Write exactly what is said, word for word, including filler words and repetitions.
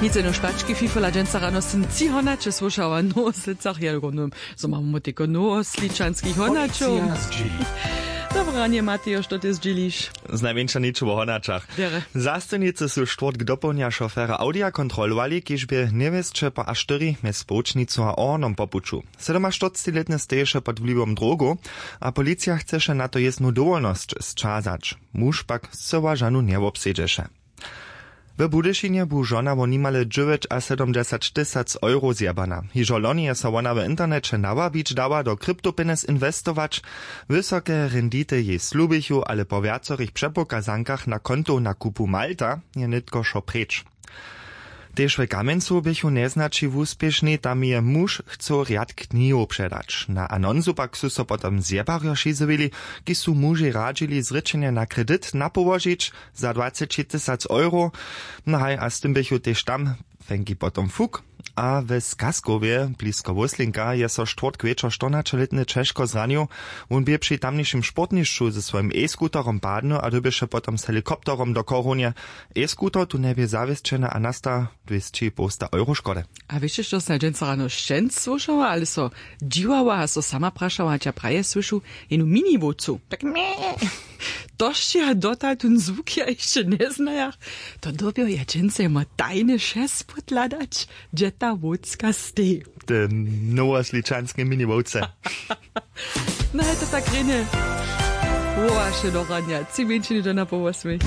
Nic jeno štački fifola dźensa rano sym tři honaće słyšała nowoslěcach ja runum, zo mamy teko nowosličanskich honaćow. Dobre ranje matejo, što ty zdźěliš? Z najmjeńša ničo wo honaćach. Zastojnicy su štwórtk dopołdnja šofera audija kontrolowali, kiž bě njewěsće po a štyri mjez połčnicu a ornom po puću. Sydomaštyrcećilětny steješe pod wliwom drogow, a policija chceše na to jěznu dowolnosć sćazać. Muž pak scyła žanu njewobsedźeše. W budyšinje bu žona wo nimale dźewjećasydomdźesaćtysac euro zjebana. Hižo loni je so wona w interneće nawabić dała do kryptopjenjez inwestować. Wysoke rendity jej slubichu, ale po wjacorych přepokazankach na kontow na kupu malta je nětko wšo preč. Tež w kamjencu běchu njeznaći wuspěšni, tam je muž chcył rjad knihow předać. Na anonsu pak su so potom zjebarjo šizowili, kiž su mužej radźili zrěčenje na kredit napołožić za dwacećitysac euro. No haj, a z tym běchu tež tam fenki potom fuk. A w skaskowje blisko wóslinka je so štwórtk wječor štyrnaćelětny ćežko zranił. Wón bě při tamnišim sportnišću ze swojim e-skuterom padnył a dyrbješe potom z helikopterom do chorownje. E-skuter tu njebě zawěsćeny a nasta dwěsći połsta euro škody. A wěsće što sym dźensa rano šćenc słyšała ale so dźiwała a so sama prašała hač ja praje słyšu, jenu miniwowcu tak mje. To sće ja dotal tón zwuk ja hišće njeznajach. To dyrbjo ja dźensa jemu tajny šest pódhladać, hdźe ta wowcka steji. Te nowosličanske miniwowce. No je to tak rjenje. Wołaše do ranja tři mjeńšiny do na połosmej.